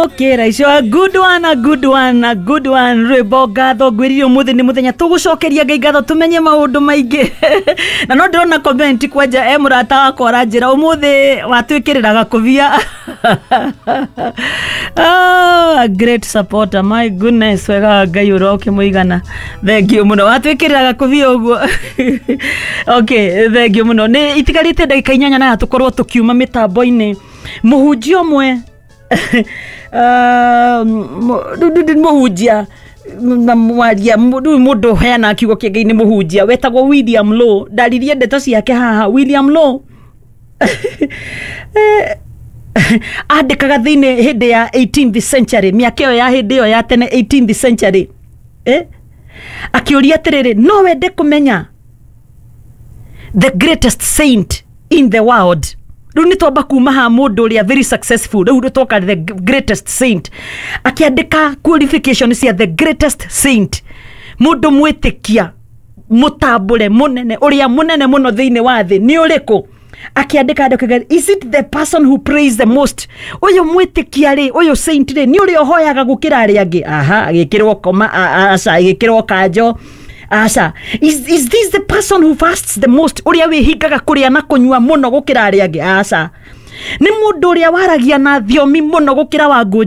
Gũkĩra icio. A good one, a good one, a good one. Rwĩmbo ngatho. Ngwĩrire ũmũthĩ nĩ mũthenya tũgũcokeria Ngai ngatho, tũmenye maũndũ maingĩ. Na no ndĩrona comment kwanja e mũrata wakwa aranjĩra ũmũthĩ watwĩkĩrĩra gakũbia. Ah, a great supporter, my goodness. Wega wa Ngai ũrokĩmũigana. Thank you mũno, watwĩkĩrĩra gakũbia ũguo. Okay, thank you mũno. Nĩ itigarĩte ndagĩka 8 na tũkorwo tũkiuma mĩtambo-inĩ. Mũhunjia ũmwe, mũhunjia na mwaria, rĩu mũndũ ũheanaga kiugo kĩa Ngai nĩ mũhunjia wetagwo William Law. Ndaririe ndeto ciake haha. William Law andĩkaga thĩinĩ hĩndĩ ya 18th century, mĩaka ĩyo ya hĩndĩ ĩyo ya tene, 18th century, akĩũria atĩrĩrĩ, no wende kũmenya the greatest saint in the world? Rĩu nĩ twamba kuma ha mũndũ ũrĩa very successful, rĩu twoka the greatest saint. Akĩandĩka qualification cia the greatest saint, mũndũ mwĩtĩkia mũtambũre mũnene, ũrĩa mũnene mũno thĩinĩ wa thĩ nĩ ũrĩkũ? Akĩandĩka andĩka, is it the person who prays the most? Ũyũ mwĩtĩkia rĩ, ũyũ saint rĩ, nĩ ũrĩa ũhoyaga gũkĩra arĩa angĩ? Aha, agĩkĩrwo koma, aca, agĩkĩrwo kanjo, aca. Is this the person who fasts the most? Ũrĩa wĩhingaga kũrĩa na kũnyua mũno gũkĩra arĩa angĩ? Aca. Nĩ mũndũ ũrĩa waragia na thiomi mũno gũkĩra Wangũ?